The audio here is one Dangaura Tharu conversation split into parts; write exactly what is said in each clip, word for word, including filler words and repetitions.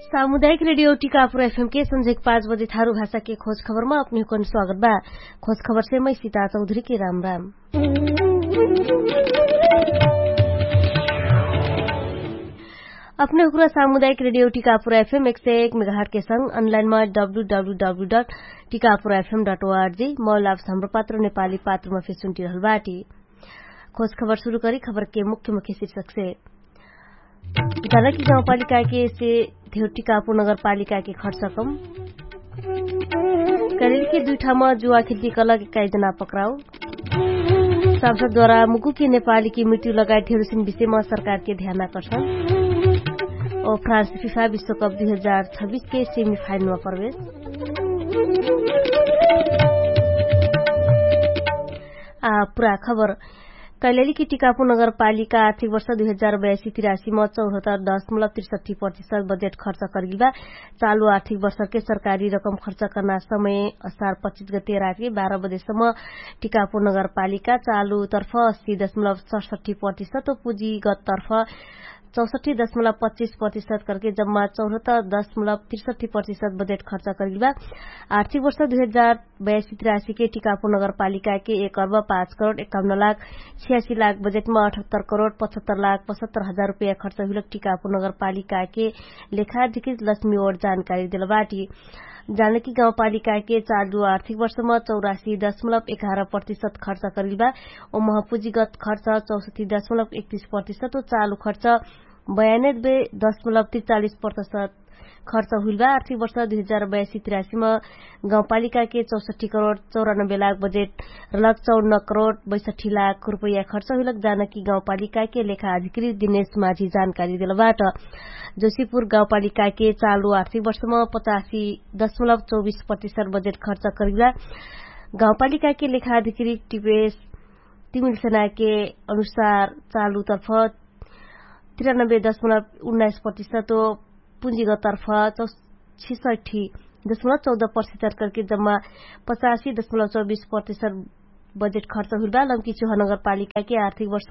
सामुदायिक रेडियो टिकापुर एफएम के संझेक पाँच बजे थारु भाषा के खोज खबरमा अपने हुकन स्वागत बा। खोज खबर से मै सीता चौधरी के राम राम। अपने हुकुरा सामुदायिक रेडियो टिकापुर एफएम एक सय एक मेगाहट के संग अनलाइनमा W W W dot Tikapur FM dot O R G. मौलाव सम्रपात्र नेपाली पात्रमा फेसुन्टी रहल बाटी। खोज खबर सुरु करी खबर के मुख्य मुख्य शीर्षक से। जानकी गाउँपालिका के से धेउ टिकापु नगरपालिका के खर्च कम। करेल के दुइ ठामा जुवा खेल्टी कलक एक्काइस जना पक्राउ। सांसदद्वारा मुकुके नेपाली के मृत्यु लगायत धेरुसिन विषयमा सरकार के ध्यान आकर्षण। ओ फ्रान्स फिफा विश्वकप दुइ हजार छब्बिस के सेमिफाइनलमा प्रवेश। आ पुरा खबर। कैलेली कि टिकापु नगरपालिका आर्थिक वर्ष दुइ हजार बयासी तिरासी म चौहत्तर दशमलब त्रिसठी प्रतिशत बजेट खर्च करगिल बा। चालु आर्थिक वर्ष के सरकारी रकम खर्च कर्ना समय असार पच्चिस गते राति बाह्र बजेसम्म टिकापु नगरपालिका चालु तर्फ अस्सी दशमलब सडसठी प्रतिशत ओ पुँजीगत तर्फ चौसठी दशमलब पच्चिस प्रतिशत करके जम्मा चौहत्तर दशमलब त्रिसठी प्रतिशत बजेट खर्च करगिल बा। आर्थिक वर्ष दुइ हजार बयासी तिरासी के टिकापु नगरपालिका के एक अर्ब पाँच करोड एकाउन्न लाख छियासी लाख बजेटमा अठहत्तर करोड पचहत्तर लाख पचहत्तर हजार रुपैया खर्च हुइलक टिकापु नगरपालिका के लेखाधिकृत लक्ष्मी ओर जानकारी देल बाटी। जानकी गाउँपालिका के चालु आर्थिक वर्षमा चौरासी दशमलब एघार प्रतिशत खर्च करगिल बा। ओ महपुँजीगत खर्च चौसठी दशमलब एकतिस प्रतिशत ओ चालु खर्च बयानब्बे दशमलब त्रिचालिस प्रतिशत खर्च हुइल बा। आर्थिक वर्ष दुइ हजार बयासी तिरासी म गाउँपालिका के चौसठी करोड चौरानब्बे लाख बजेट रलक चौन्न करोड बैसठी लाख रुपैया खर्च हुइलक जानकी गाउँपालिका के लेखा अधिकृत दिनेश माझी जानकारी देल बाट। जोशीपुर गाउँपालिका के चालु आर्थिक वर्षमा पचासी दशमलब चौबिस प्रतिशत बजेट खर्च करिला। गाउँपालिका के लेखा अधिकृत टिपेश तिमिल सेना के अनुसार चालु तर्फ तिरानब्बे दशमलब उन्नाइस प्रतिशत ओ पुँजीगत तर्फ चौ छिसठी दशमलब चौध प्रतिशत करके जम्मा पचासी दशमलब चौबिस प्रतिशत बजेट खर्च हुइल बा। लम्की चुहा नगरपालिका के आर्थिक वर्ष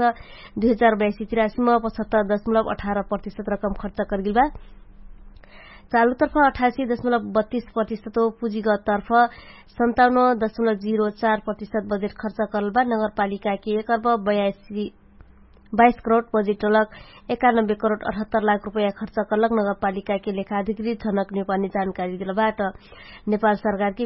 दुइ हजार बयासी तिरासी म पचहत्तर दशमलब अठार प्रतिशत रकम खर्च करगिल बा। चालु तर्फ अठासी दशमलब बत्तिस प्रतिशत ओ पुँजीगत तर्फ सन्ताउन्न दशमलब जिरो चार प्रतिशत बजेट खर्च करल बा। नगरपालिका के एक अर्ब बयासी बाइस करोड बजेट टलक एकानब्बे करोड अठहत्तर लाख रुपैया खर्च करलक नगरपालिका के लेखा अधिकृत झनक नेपालनी जानकारी देल बाट। नेपाल सरकार के